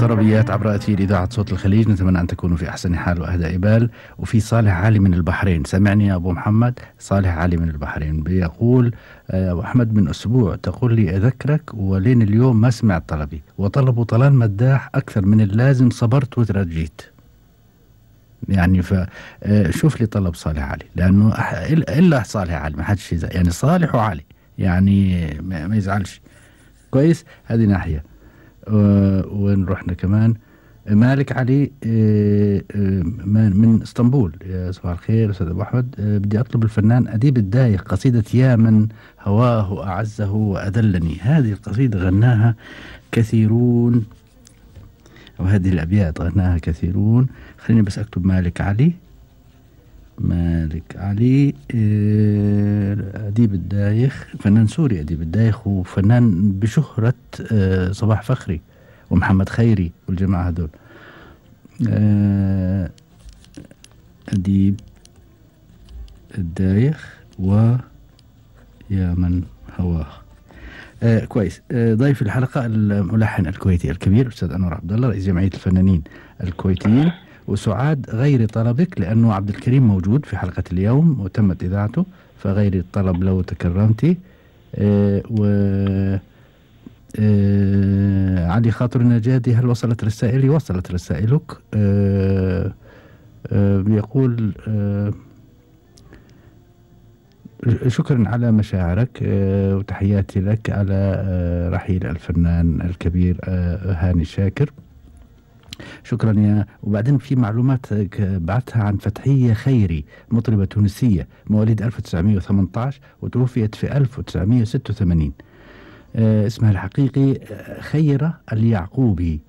طربيات عبر أثير إذاعة صوت الخليج. نتمنى أن تكونوا في أحسن حال وأهدى بال. وفي صالح علي من البحرين، سمعني يا أبو محمد. صالح علي من البحرين بيقول أبو أحمد من أسبوع تقول لي أذكرك ولين اليوم ما سمعت طلبي، وطلبوا طلال مداح أكثر من اللازم، صبرت وترجيت. يعني فشوف لي طلب صالح علي، لأنه إلا صالح علي ما حدش يزعل، يعني صالح وعلي يعني ما يزعلش. كويس، هذه ناحية. وين رحنا كمان؟ مالك علي من اسطنبول. يا صباح الخير أستاذ أبو أحمد. بدي أطلب الفنان أديب الدايخ قصيدة يا من هواه أعزه وأذلني. هذه القصيدة غناها كثيرون، وهذه الأبيات غناها كثيرون. خليني بس أكتب مالك علي. مالك علي أديب الدايخ، فنان سوري أديب الدايخ، وفنان بشهرة صباح فخري ومحمد خيري والجماعة هذول. أديب الدايخ ويا من هواه. كويس. ضيف الحلقة الملحن الكويتي الكبير أستاذ أنور عبد الله، رئيس جمعية الفنانين الكويتيين. وسعاد غير طلبك لأنه عبد الكريم موجود في حلقة اليوم وتمت إذاعته، فغير الطلب لو تكرمتي. علي خاطر النجادي، هل وصلت رسائلي؟ وصلت رسائلك. بيقول شكرا على مشاعرك وتحياتي لك على رحيل الفنان الكبير هاني شاكر. شكرا يا. وبعدين في معلومات بعتها عن فتحية خيري، مطربة تونسية مواليد 1918 وتوفيت في 1986. اسمها الحقيقي خيرة اليعقوبي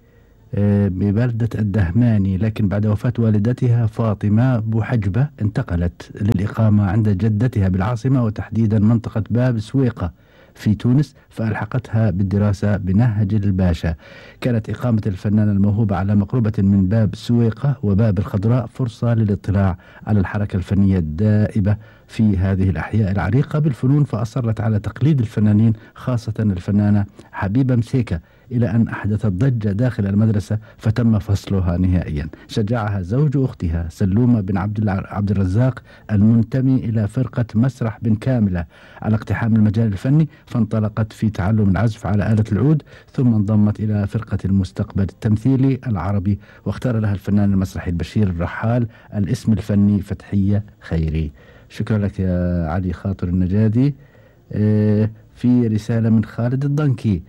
ببلدة الدهماني، لكن بعد وفاة والدتها فاطمة بوحجبة انتقلت للإقامة عند جدتها بالعاصمة، وتحديدا منطقة باب سويقة في تونس، فألحقتها بالدراسة بنهج الباشا. كانت إقامة الفنانة الموهوبة على مقربة من باب سويقة وباب الخضراء فرصة للاطلاع على الحركة الفنية الدائبة في هذه الأحياء العريقة بالفنون، فأصرت على تقليد الفنانين خاصة الفنانة حبيبة مسيكة، إلى أن أحدثت ضجة داخل المدرسة فتم فصلها نهائيا. شجعها زوج أختها سلومة بن عبد الرزاق المنتمي إلى فرقة مسرح بن كاملة على اقتحام المجال الفني، فانطلقت في تعلم العزف على آلة العود، ثم انضمت إلى فرقة المستقبل التمثيلي العربي، واختار لها الفنان المسرحي البشير الرحال الاسم الفني فتحية خيري. شكرا لك يا علي خاطر النجادي. في رسالة من خالد الضنكي.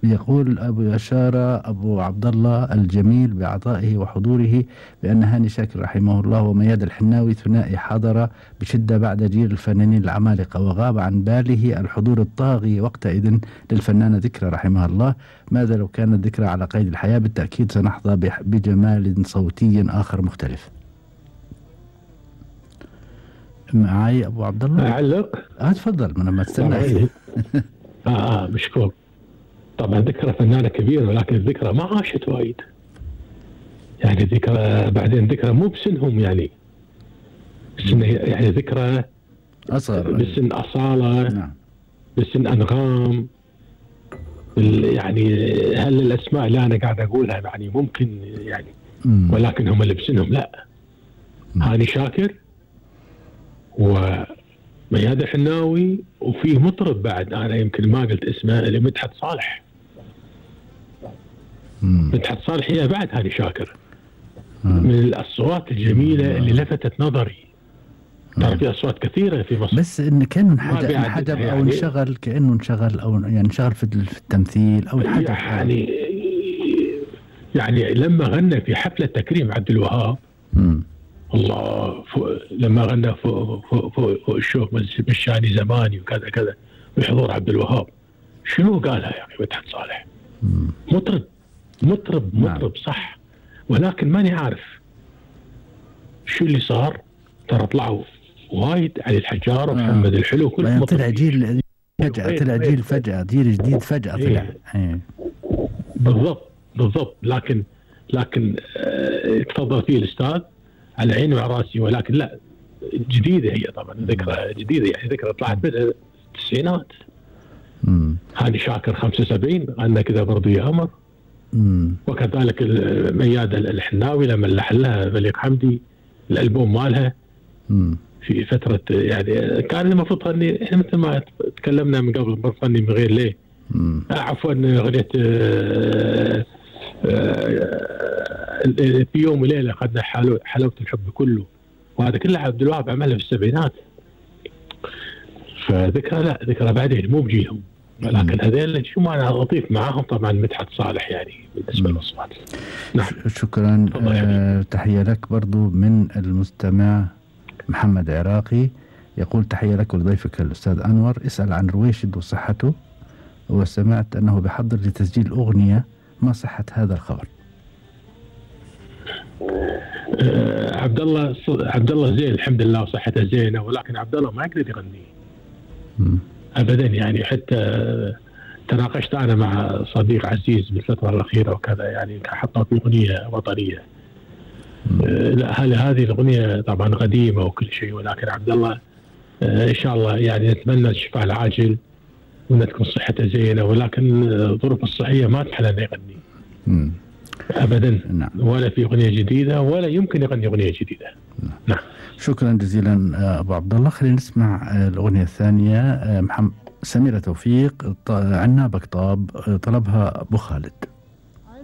يقول أبو أشارة أبو عبد الله الجميل بعطائه وحضوره بأن هاني شاكر رحمه الله ومياد الحناوي ثنائي حضر بشدة بعد جيل الفنانين العمالقة، وغاب عن باله الحضور الطاغي وقتئذ للفنانة ذكرى رحمها الله. ماذا لو كانت ذكرى على قيد الحياة؟ بالتأكيد سنحظى بجمال صوتي آخر مختلف. معي أبو عبد الله أعلق؟ تفضل، من ما تستنى. مشكور. طبعا ذكرى فنانة كبيرة، ولكن الذكرى ما عاشت وايد، يعني ذكرى بعدين ذكرى مو بسنهم، يعني بسن يعني ذكرى أصغر، بسن أصالة. نعم. بسن أنغام. يعني هل الأسماء اللي أنا قاعد أقولها يعني ممكن يعني ولكن هم اللي بسنهم لا. هاني شاكر ومياد الحناوي، وفيه مطرب بعد أنا يمكن ما قلت اسمه اللي مدحت صالح. مدحت صالح هي بعد هاني شاكر من الأصوات الجميلة اللي لفتت نظري. ترى في أصوات كثيرة في مصر، بس إن كان انحجب أو انشغل، كأنه انشغل أو يعني انشغل في التمثيل أو الحجب يعني لما غنى في حفلة تكريم عبد الوهاب الله لما غنى فوق الشوق مشاني زماني وكذا كذا بحضور عبد الوهاب، شنو قالها يا أخي مدحت صالح؟ مطرب صح، ولكن ماني عارف شو اللي صار. ترى طلعوا وايد علي الحجار ومحمد الحلو كل طلع جيل فجأة، طلع جيل فجأة، جيل جديد فجأة طلع. بالضبط. لكن تفضل فيه الأستاذ على عيني وعلى راسي، ولكن لا جديدة هي طبعا ذكرى جديدة، يعني ذكرى طلعت من التسعينات. هاني شاكر 75 غنى كذا برضو يا قمر. وكذلك ميادة الحناوي لما لحن لها بليغ حمدي الالبوم مالها في فتره، يعني كان المفروض تغني، احنا مثل ما تكلمنا من قبل بنغني من غير ليه. عفوا اغنيه في يوم وليله اخذنا حلاوه الحب كله، وهذا كله عبد الوهاب عملها في السبعينات. فذكرى لا ذكرى بعدين مو بجيلهم، ولكن هذيل شو معنى لطيف معاهم طبعا مدحت صالح يعني بالنسبه للاصوات. نعم شكرا. تحيه لك برضو من المستمع محمد عراقي، يقول تحيه لك ولضيفك الاستاذ انور، اسال عن رويشد وصحته، وسمعت انه بحضر لتسجيل اغنيه، ما صحه هذا الخبر؟ عبد الله زين الحمد لله وصحته زينه، ولكن عبد الله ما يقدر يغني ابدا يعني. حتى تناقشت انا مع صديق عزيز بالفتره الاخيره وكذا، يعني حطوا في اغنيه وطنيه. لا هذه الاغنيه طبعا قديمه وكل شيء، ولكن عبد الله ان شاء الله يعني نتمنى الشفاء العاجل وان تكون صحته زينه، ولكن الظروف الصحيه ما تحل انه يغني ابدا. نعم. ولا في اغنيه جديده ولا يمكن يغني اغنيه جديده. نعم. شكرا جزيلا ابو عبد الله. خلينا نسمع الاغنيه الثانيه. سميره توفيق عنابك طاب، طلبها ابو خالد.